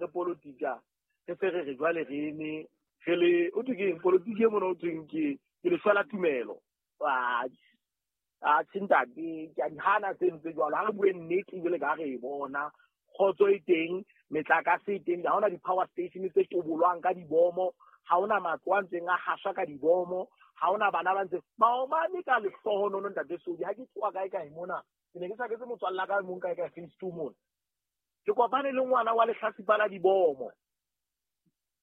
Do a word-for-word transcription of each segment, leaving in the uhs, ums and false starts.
re politika re se re re jwale re eme re le o thwe ke eng politiki e mona o thweng ke ke lehlwa la tumelo. A a ntate ke a di hana tse ntse jwalo. Ha re bue nnete jwale ka re e bona kgotso e teng, metlakase e teng, ha hona di-power station tse tobolwang ka dibomo, ha hona matlo a ntseng a haswa ka dibomo, ha hona bana ba ntse maobane ka lehlohonono ntate Sodi. Ha ke tsoa kae kae mona, ke ne ke tjhaketse motswalle wa ka e mong kae kae phase two mona. Ke kopane le ngwana wa lehlasipa la dibomo.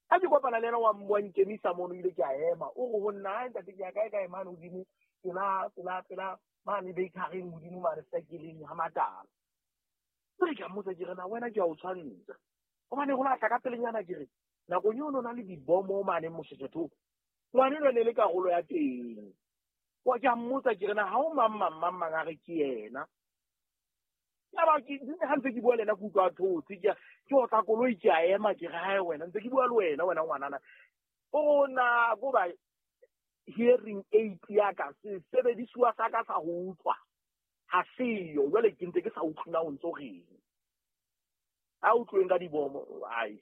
Ha ke kopana le yena wa wa nkemisa mono, ile ke a ema. O re ho nna, "Hai ntate, ke ya kae kae mane hodimo, pela pela pela mane bakery-eng hodimo mane sekeleng ha Matala." Jwale ke a mmotsa ke re, na wena ke a o tshwantsha. Hobane ho lahla ka pelenyana ke re, nakong eo no na le dibomo mane Moshoeshoe. Ngwana enwa ne le karolo ya teng. Wa ke a mmotsa ke re, na ha o mang mang mang mang a re ke yena. Yaba ke ha ntse ke bua le yena ke utlwa a thotse, ke ke otla koloi ke a ema ke re, hae wena ntse ke bua le wena wena ngwanana. O na ko ba hearing aid ya ka, sesebedisuwa sa ka sa ho utlwa ha seyo. Jwale ke ntse ke sa utlwe na o ntso reng. Ha utlweng ka dibomo, ai.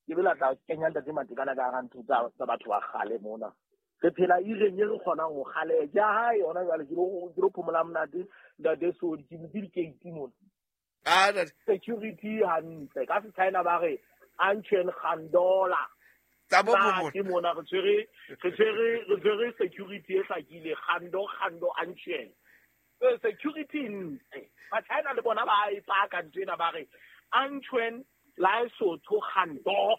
Ke be la tla kenya ntate Matekane ka hara ntho tsa tsa batho ba kgale mona. Re phela ireng e re kgonang ho kgaleha. Ke ya hae yona jwale ke lo ke lo phomola monate ntate Sodi, ke butse di-gate mona. Ah, ntate. Security hantle. Ka se-China ba re Anchen Gandola. Tsa bo Ba ke mona re tshwere re tshwere re tshwere security e hlakile Gando Gando Anchen. Eh, security ntle. Ba China le bona ba e paka ntho ena ba re Anchen Lesotho Gando.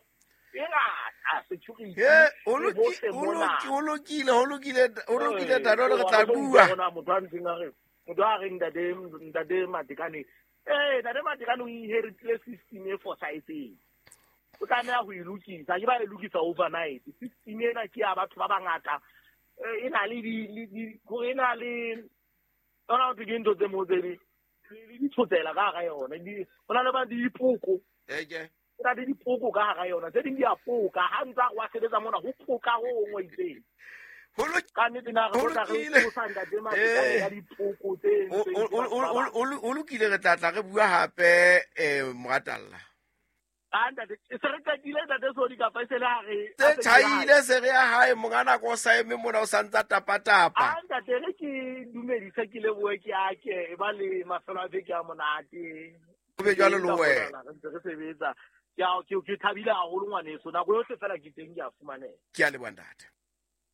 E ngata security. He, o e loki- hohle o mona. loki- o lokile, ho lokile, o lokile Eh, ntate, re wa tla re tlo bua. utlwa hore motho a ntseng a re, motho a reng ntate, ntate Matekane. Eh, ntate Matekane o inheritile system e fosahetseng. O tlameha ho e lokisa, ke ba e lokisa overnight. System ena ke ya batho ba bangata. Eh, e na le di, le di, hore e na le, yona ho thwe ke ntho tse mo tse di, le ditshotsela ka hara yona. Di, ho na le ba dipoko. Eke. Ho na le dipoko ka hara yona. Tse ding di a poka. Ha ntse a re wa sebetsa mona, ho poka ho hong ho itseng. Ho loki- Ka nnete na re ho tlo tla re lokile. tsosa ntate Matekane Eh. ka dipoko tse O- entsweng o- ke batho o- ba o- bang. o o lokile, re tla tla re bua hape eh moratalla. Ah, ntate, e se re qetile ntate Sodi kapa e se le ha re Tse a se ke hae? tjhaile se re ya hae monga nako o sa eme mona o sa ntsa tapa-tapa. Ah, ntate, re ke dumedise ke lebohe ke ake e ba le mafelo a beke a monate. Ho be jwalo le wena. Re ntse re sebetsa. Ke a ke ke thabile haholo ngwaneso. Nako yohle fela ke teng ke a fumaneha. Ke a leboha ntate.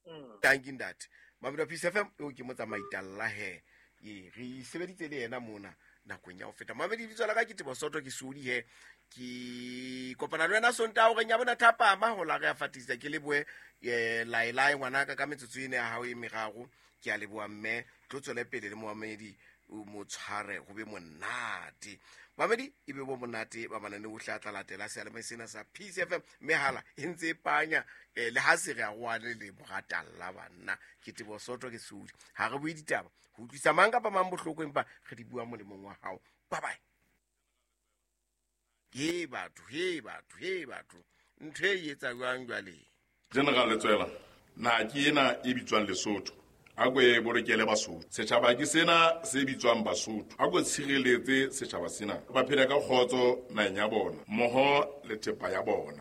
Mm. Thank you ntate. Mamedi wa Peace F M eo ke motsamaitalla he. Ee, re sebeditse le yena mona nakong ya ho feta. Mamedi lebitso la ka ke Tebo Soto ke Sodi he. Ke kopana le wena Sontaha horeng ya bona thapama ho la re a fatisa ke lebohe eh laelae ngwanaka ka metsotso ena ya hao e meraro. Ke a leboha mme tlo tswele pele le moamedi o mo tshware ho be monate. Mamedi e be bo monate ba manane ohle a tla latela seyalemoya sena sa Peace F M mehala e ntse e panya eh, le ha se re a roane le moratalla banna. Ke Tebo Soto ke Sodi. Ha re bue ditaba ho utlwisa mang kapa mang bohloko empa re di bua molemong wa hao. Bye bye. He batho, he batho, he batho. Ntho e etsa jwang jwale? General Letsoela, naha ke ena e bitswang Lesotho. A ko e bolokele Basotho. Setjhaba ke sena se bitswang Basotho. A ko tshireletse setjhaba sena. Ba phele ka kgotso naheng ya bona, mmoho le thepa ya bona.